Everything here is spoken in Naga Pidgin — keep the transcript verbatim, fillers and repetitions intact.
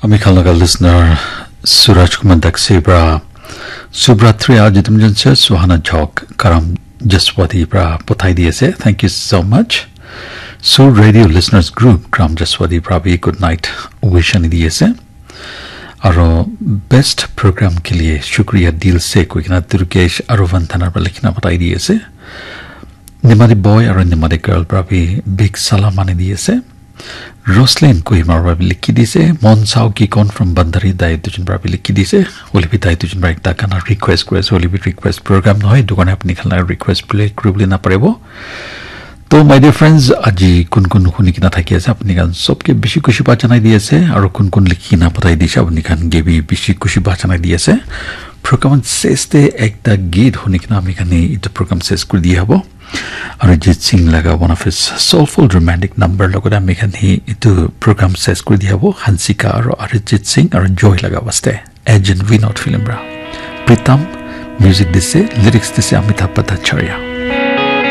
Ami khan laga listener Suraj Kumar Daksi pra Subratri aji tum jan se Suhana Jhok Karam Jaswati pra pathai di ase. Thank you so much. Sur Radio Listeners Group Karam Jaswati pra bhi good night wish ani di ase. Aro best program ke liye shukriya dil se koi kena Durgesh aro Vandana pra likhina pathai di ase. Nimadi boy aro Nimadi girl pra bhi big salam ani di ase. Roslyn Kohima pra bhi likhi di ase. Mon Sao Kikon from Bandari dai dujun pra bhi likhi di ase. Hoile bhi dai dujun pra ekta gana request kuri ase. Hoile bhi request program nohoi. Etu karne apni khan la request play kuribole naparibo. To my dear friends, aji kun kun huni kena thaki ase, apni khan sob ke bishi khushi pa janai di ase, aro kun kun likhi kena pathai di ase, apni khan ke bhi bishi khushi pa janai di ase. Program ses te ekta git huni kena ami khan hi etu program ses kuri di hobo. Arijit Singh laga one of his soulful romantic number logot ami khan hi etu program ses kuri di hobo. Hansika aro Arijit Singh aro Joy laga waste. Agent Vinod film pra. Pritam, music dise, lyrics dise Amitabh Bhattacharya.